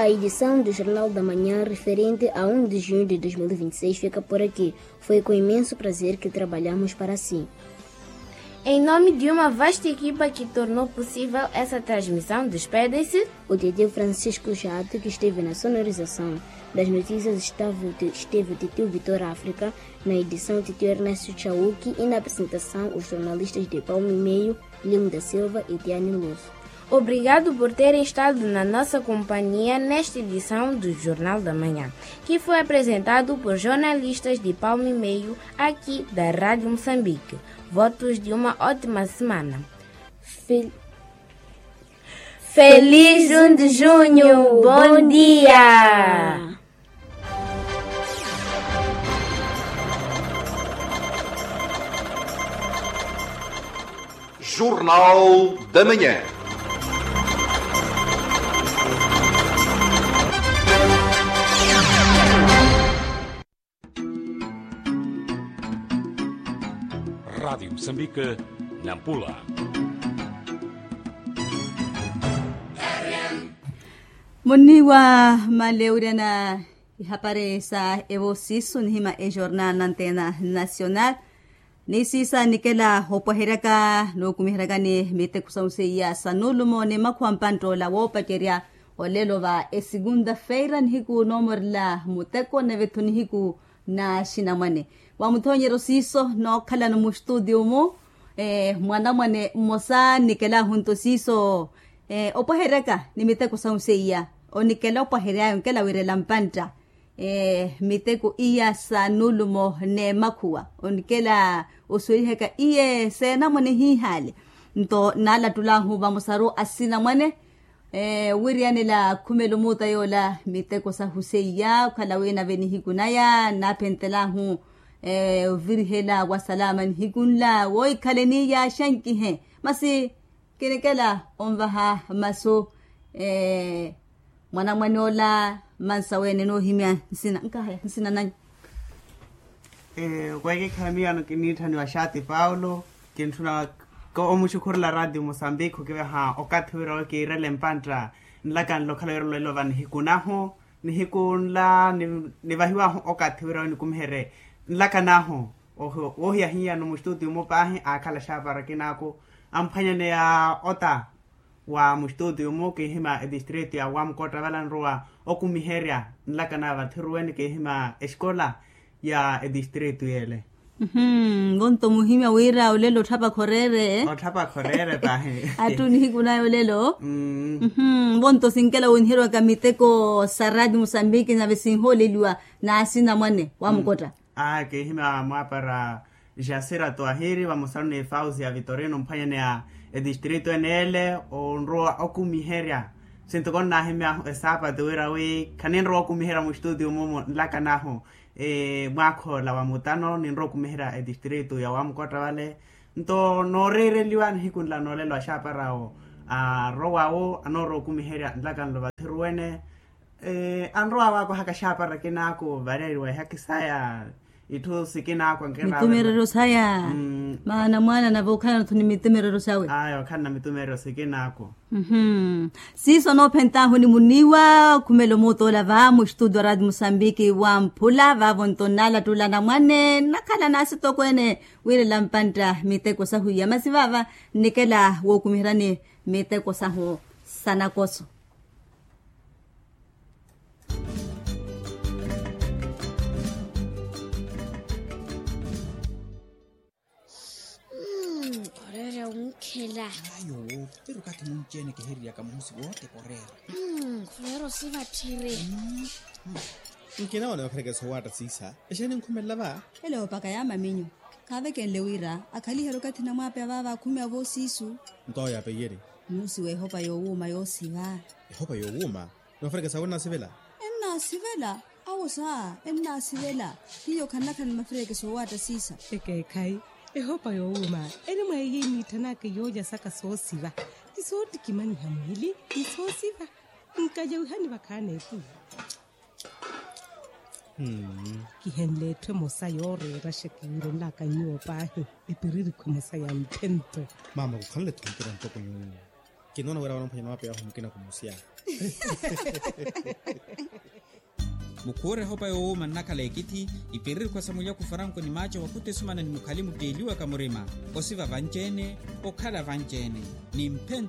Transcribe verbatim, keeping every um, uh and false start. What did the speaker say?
A edição do Jornal da Manhã referente a um de junho de dois mil e vinte e seis fica por aqui. Foi com imenso prazer que trabalhamos para si. Em nome de uma vasta equipa que tornou possível essa transmissão, despedem-se o titio Francisco Jato, que esteve na sonorização das notícias, estava o ti-, esteve o titio Vitor África, na edição o titio Ernesto Chauque e na apresentação os jornalistas de Palme Meio, Lino da Silva e Tiane Luz. Obrigado por terem estado na nossa companhia nesta edição do Jornal da Manhã, que foi apresentado por jornalistas de Palme Meio, aqui da Rádio Moçambique. Votos de uma ótima semana. Fel-, Feliz um de junho. Bom dia. Jornal da Manhã. Rádio Moçambique, Nampula. Muniwa maleurya na ihapari sa evo siiso nihima ejornal na antena nacional. Ni siisa nikela opwaheryaka nookumiheryakani miteko sa oseiya sa nulumo ni makhuwa mpantta ola woopacerya olelo va esegunta feira nihiku noomorela muteko nave-tho nihiku na axinamwane. Wamuthonyeryo siiso nookhalano mustutio-mu mwanamwane mmosa nikelahu nto siiso opwaheryaka ni miteko sa oseiya onikela opwaheryaya onkela wirela mpantta miteko iya sa nulumo n'emakhuwa onikela osuwelihaka iye seenamwane hiihale. Nto naalattulahu vamosaru asinamwane wiriyanela khumela omuuta yoola miteko sahu seiya okhala wi nave nihiku naya nnaaphentelahu ovirihela wa salama nihiku nla woikhale ni yaaxankihe masi kinikela onvaha masu mwanamwane ola mansa wene noohimya nsina nkahaya nsina nanyu. Okweekikhala miyo ano kiniitthaniwa xaati paulo kintthuna omuxukhurela ratio mosambikho kivaha okathi wira wi kiirele mpantta nlaka nla okhala wira olelo va nihiku nahu nihiku nla nivahiwahu okathi wira wi nikumiherye nlaka nahu. Woohiya hiyano mustutio-mu paahi aakhala xaapara kinaaku amphwanyaneya ota wa mustutio-mu kiihima etistritu ya wamukootta vala nrowa okumiherya nlaka na vathiruwene kiihima esikola ya etistritu yele. Vonto muhimya wira olelo otthapakha oreere. Otthapakha oreere paahi. Attu nihiku naya olelo. Vonto sinkela woniherwaka miteko sa rati musambiki nave sinhooleliwa n'asinamwane wamukotta. Aa kiihima mwaapara jasira twahiri vamosaru ni fausi ya vitorino mphwanyaneya etistritu ene ele onrowa okumiherya. Sinto konnaahimyahu esaapati wira wi khaninrowa okumiherya mustutio mumu nlaka nahu mwaakhoola wa mutano ninrowa okumiherya etistritu ya wamukotta vale. Nto nooreereliwa nihiku nla noolelo axaaparawo arowawo anoorowa okumiherya nlaka nlo vathiruwene. Anrowa waakohaka xaapara kinaaku vareeriwa ihaki saya itthu sikinaaku ankeraawe mitumereryo saya. Maana mwaana nave okhalana-tho ni mitumereryo sawe. Aya okhalana mitumereryo sikinaaku. Siiso noophentaahu ni muniiwa khumela omuuta ola va mustudio a rati musambiki wamphula vaavo nto nnaalattula anamwane nnakhala n'asitokweene wiirela mpantta miteko sahu iya masi vaava nnikela wookumiheryani miteko sahu sa nakoso. Oreerya onkhela. Ayo, pero okathi munci-ene kihiririyaka muhusi wooteka oreera. Khuleera osivatthiri. Nkinawo na maperekesa owaatta siisa exeeni nkhumelela va. Ela oopaka yaamaminyu. Kaavekenle wira akhaliherye okathi namwaapeya vaava akhumeya voosiisu. Nto awo yaapeiyerye. Muusi w'ehopa yoowuuma yoosiva. Ehopa yoowuuma? Nimafirekesa awo ennaasivela. Ennaasivela? Awo saa ennaasivela. Hiyo khannakhala ni mafirekesa owaatta siisa. Ekeekhayi. Ehopa yoowuuma eni mweeyi eniitthanaka yoolya saka soosiva ni sootikimanyiha mwiili ni soosiva. Nkayawihani vakhaana epuwi. Kihenle etthu emosa yooreera xekiwiro nlaka nyuwo paahi. Epiririkhu emosa ya ntthentho. Maama khukhanle-tho mpira ntoko nyuwo. Kinoona wira wala mphwanya mapeya wahu mukina khumusiya. Mukhuure ehopa yowuuma nnakhala ekithi, ipiririkhwa sa mulyaku faranku ni maaca wa kutesumana ni mukhali mutteeliwaka murima, osiva vanci-ene, okhala vanci-ene, ni mphento.